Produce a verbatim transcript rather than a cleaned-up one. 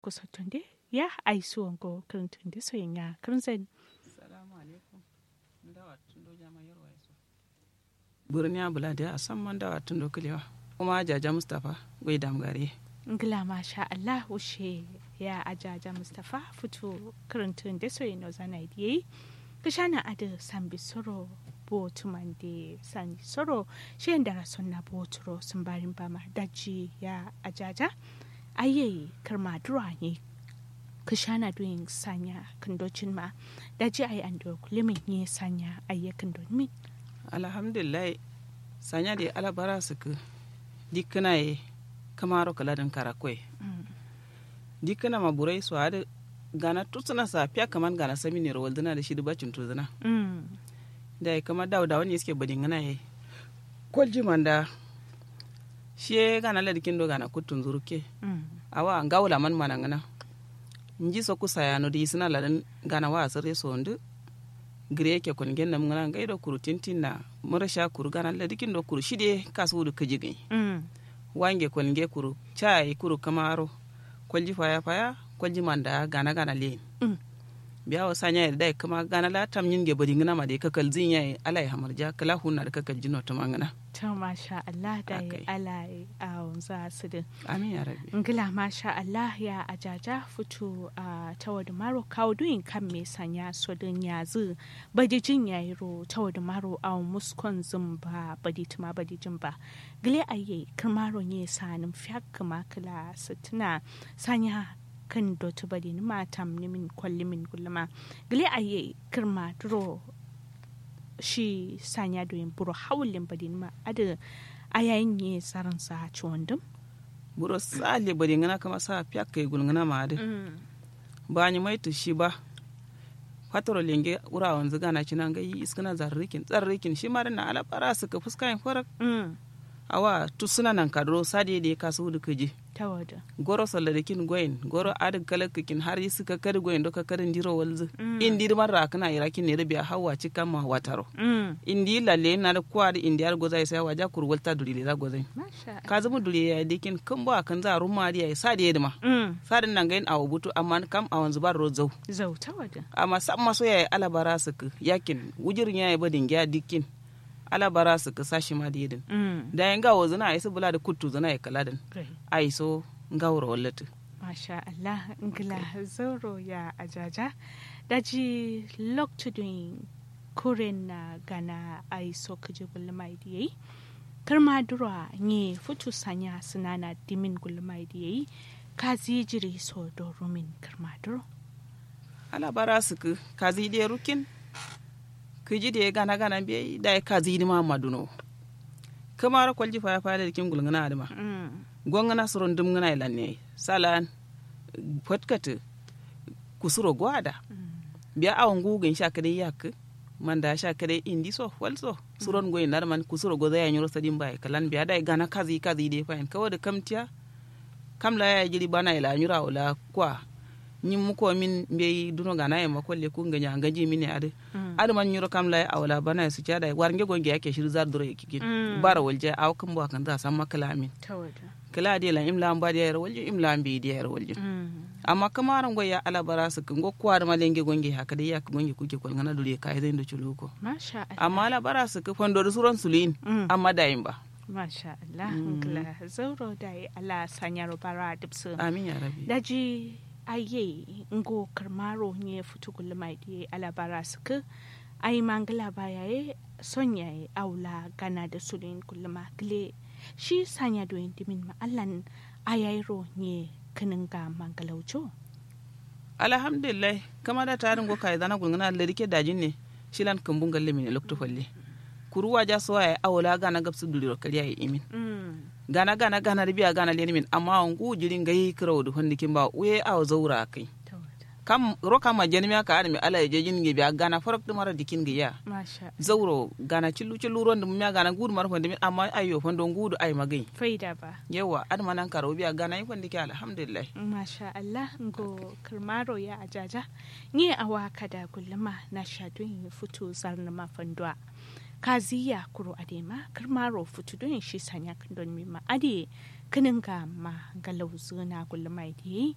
Kusottunde ya aiso ngo kǝrǝntǝnde so yen ya kǝrǝnzan. Salamu alaikum. Ndawa tundo jama yarwa iso. Burniya bula de asamma ndawa tundo kǝlewa. Kuma ajaja mustapha. Wai damgare. Ngla masha allah wushe ya ajaja mustapha futu kǝrǝntǝnde so yen nozana ye diye. Kǝshana adǝ sambi soro. Botu mande sani soro. Shiyen dara sonna boturo sǝmbarin bama daji ya ajaja. Aiyai kǝrma duro anye. Kǝshana duyin sanya kǝndo cinma. Daji ai ando kulimin nye sanya aiye kǝndo nimin. Alhamdulillahi. Sanya de alabara sǝkkǝ. Dikkǝna ye. Kǝmaro kǝladǝn karakko ye. Dikkǝna ma burai so adǝ. Gana tutsǝna sa fiya kǝman gana saminero waldǝna dǝ shidǝ bacin tuzǝna. Dai kǝma dawo dawo ne suke badingǝna ye. Kolji manda. Shiye gana ladikin do gana kuttun zurukke. Awa ngawo laman manangǝna. Nji so kusa yano dǝ isǝna ladǝn. Gana wa asǝre so ndǝ. Gǝre yake kolnge namngǝna ngai do kuru tintin na. Murasha kuru gana ladikin do kuru shide kasu wudu kǝji gǝnyi. Wange kolnge kuru cayi kuru kǝmaro. Kolji faya faya. Kolji manda gana gana leyin. Biya wo sanya ye dai kǝma gana la tamnyin ge badingǝna ma dai kakalzin yayi alai hamarja kǝla hunna dǝ kakaljin no tǝmangǝna. To masha allah dai alai. Awonza sǝdǝ. Amin ya rabbi. Ngla masha allah ya ajaja futu. Tawadǝ maro kawo duyin kamme sanya sodǝ nyazǝ. Badijin yayiro tawadǝ maro awo muskon zǝmba baditǝma badijin ba. Gǝle aiye kǝrmaro nye sanǝm fiyakkǝma kǝla sǝttǝna. Sanya kǝn dotǝ badinǝma tamnǝmin kollǝmin gullǝma. Gǝle aiye kǝrma duro. Shi sanya doyin buro hawullin badinǝma adǝ. Ayayin nye saransa cuwandǝm. Buro sa'alle badingǝna kǝma sa fiyakkai gulngǝna ma adǝ. Bani mai tǝ shi ba. Fatoro lenge wura wanzǝ gana cina ngai iskǝna zarrǝkin zarrǝkin shima dǝ na alabara sǝkkǝ fuskayin farak. Awa tussǝna nankaduro sade dǝ ye kasuwu dǝ kǝji. Goro salladǝkin goyin goro adǝ kalakkakin har isǝ kakkadǝ goyin do kakkadǝ ndiro walzǝ. Indi dǝ marra akǝna irakin ne dǝ biya hawwa cikkan ma wataro. Indi lalle yin na dǝ kuwa dǝ indi adǝ gozayi sai waja kuru walta duri leza gozayin. Kazǝmǝ duri yayi dǝkin kǝmbo akǝnza rumma adǝ yayi sade ye dǝma. Sadǝn nangayin awo butu amma kam awonzǝ barro zau. Amma samma so yayi alabara sǝkkǝ yakin wujur nyaye badin giya dikkin. Alabara sǝkkǝ sa shima dǝ yedǝn. Dayi ngawo zǝna ayi sǝ bǝla dǝ kuttu zǝna ye kǝla dǝn. Ayi so ngaworo wallatǝ. Masha allah. Ngla zauro ya ajaja. Daji loktu duyin kuren na gana ayi so kǝji gulluma ye dǝ yayi. Kǝrma duro a nye futu sanya sǝnana dimin gulluma ye dǝ yayi. Kazi jiri so do rumin kǝrma duro. Alabara sǝkkǝ kazi dǝ ye rukkin. Kǝji dǝ ye gana gana mbeyi dayi kazi dǝ ma amma dunowo. Kǝmaro kolji faya faya dǝ dǝ kin gulngǝna adǝ ma. Gongǝna suro ndǝmngǝna ye lanne ye salan. Fatkatǝ. Kusuro go ada. Biya awo nguwu gǝn sha kǝdai yakkǝ. Manda sha kǝdai indi so fal so suron goyin adǝ man kusuro gozai ya nyiro sadin ba ye kǝlan biya dayi gana kazi kazi dǝ ye fayin kawo dǝ kamtiya. Kam la yayi jiri bana ye la nyiro awo la kwa. Nyi muko min mbeyi duno gana ye ma kolle ku ngǝnya ngǝnji min ye adǝ. Adǝ man nyiro kam la ye awo la bana ye suciya dayi war nge gonge yakke shiri zar duro ye kikin. Baro waljiya awo kǝmbo akǝnza samma kǝla min. Kǝla adǝ ye lan imla mba dǝ yayiro waljin imla mbeyi dǝ yayiro waljin. Amma kǝmaro ngoyi ya alabara sǝkkǝ ngo kuwa dǝ ma lenge gonge hakka dai yakkǝ gonge kukke kolngana duri ye kayi zai ndo culuwukko. Amma alabara sǝkkǝ fando dǝ suron suluyin. Amma dayin ba. Masha allah. Ngla zauro dayi allah sanyaro bara dubsu. Amin ya rabbi. Daji. Aye ngo kǝrmaro nye futu gulluma ye diye alabara sǝkkǝ. Ayi ma ngla ba yaye. Son yaye awo la gana dǝ suluyin gulluma gǝle. Shi sanya doyin dǝmin ma allan. Ayayiro nye kǝnǝnga ma ngla wuco. Alhamdulillahi. Kǝma da tadǝ ngo kayi zana gulngǝna ladikke dajin ne. Shilan kǝmbu ngalle mine loktu falle. Kuru waja so yaye awo la gana gabsǝ duliro kǝriya ye imin. Gana gana gana dǝ biya gana lenimin amma awo nguwu jiɍi ngai kǝrawu dǝ fandǝkin ba wuye awo zaura akkai. Kam ro kamma jenimiya ka adǝ me ala ye jejin nge biya gana farak dǝ maro dǝkin nge ya. Zauro gana cillu cillu ron dǝ miya gana nguwu dǝ maro fandǝmin amma ayyo fando nguwu dǝ ayi ma gai. Yauwa adǝ ma nankaro biya gana ye fandǝke alhamdulillahi. Masha allah ngo kǝrmaro ya ajaja. Nye awa kada gulluma nasha duyin futu zarnǝma fanduwa. Kaziya kuru adǝ ye ma kǝrmaro futu duyin shi sanya kǝndonǝmin ma adǝ ye. Kǝnǝnga ma ngalauzǝ na gulluma ye diye.